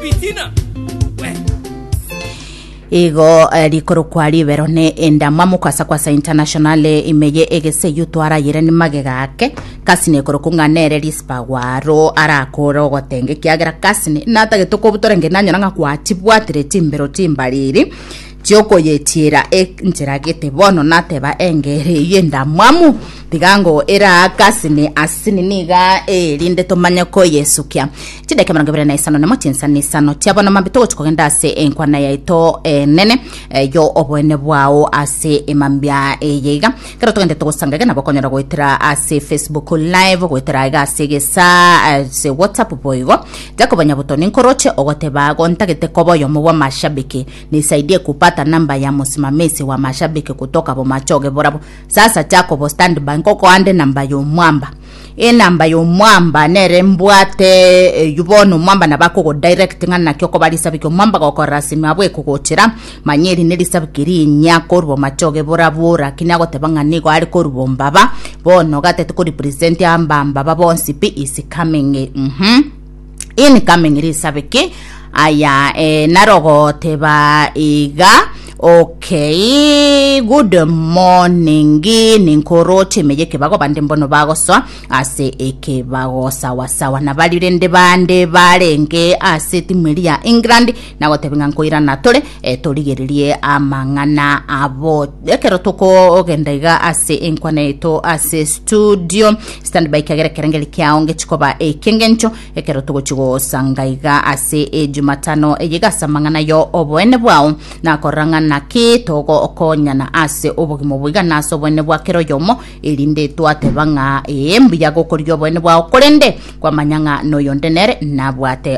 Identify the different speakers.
Speaker 1: Ebitina we.
Speaker 2: Igo eh, rikorokwa ribero ne endamwamu kwasa kwasa international ime ye egese eyio twarayire ni magega ake kasini ekorokwa ng'a nere risipagwaro arakore ogotenga ekiagera kasini natagete kobutora nge nanyora ng'a gwachibwatire chimbero chimbariri chiokoyetiera enchera gete bono nateba engere eyio endamwamu tiga ngo eraa kasini asini niga erinde tomanye koyesukia Chidakika 25 nemo chinsani isano chia bono mambia togochi kogenda ase enkwana yaito enene eh, yo oboene bwao ase emambia eye iga kero togende togosanga iga nabo okonyora goetera ase Facebook live goetera iga ase egesa ase WhatsApp boigo Jacob Nyabuto ninkoroche ogoteba gontagete koba oyomo bwa mashabiki nisaidie kupata namba ya musimamisi wa mashabiki kutoka bomachoge borabo sasa Jacobo stand by nkokoande namba yomwamba Enamba y'omwamba nere mbwate eyio bono omwamba nabo akogodirect ng'a naki okoba risabiki omwamba gokorora simi abwo ekogochera manya eri nerisabiki rinyia korwa omachoge borabwo lakini agoteba ng'a nigo are korwa ombaba bono gatete korepresent ambambaba bonsi pi is coming mhm incoming risabiki aya eh, narogoteba iga okay good morning ninkoroche ime yekebago bande mbono bagosoa ase ekebago sawasawa nabari rende bande barenge ase timu eri ya england nagoteba ng'a nkoirana tore eh, torigererie amang'ana abo ekero tokogenda iga ase enkwana yaito ase studio stand by kiagera ekerengeri kiao ngechikoba ekiengencho ekero togochi gosanga iga ase ejumatano eye iga ase amang'ana yo oboene bwao nakorora ng'a naki togokonyana ase obogima obo iga na ase oboene bwa kera oyomo erinde twateba ng'a ee mbuya gokorigia oboene bwao korende kwamanya ng'a noyonde nere nabwate.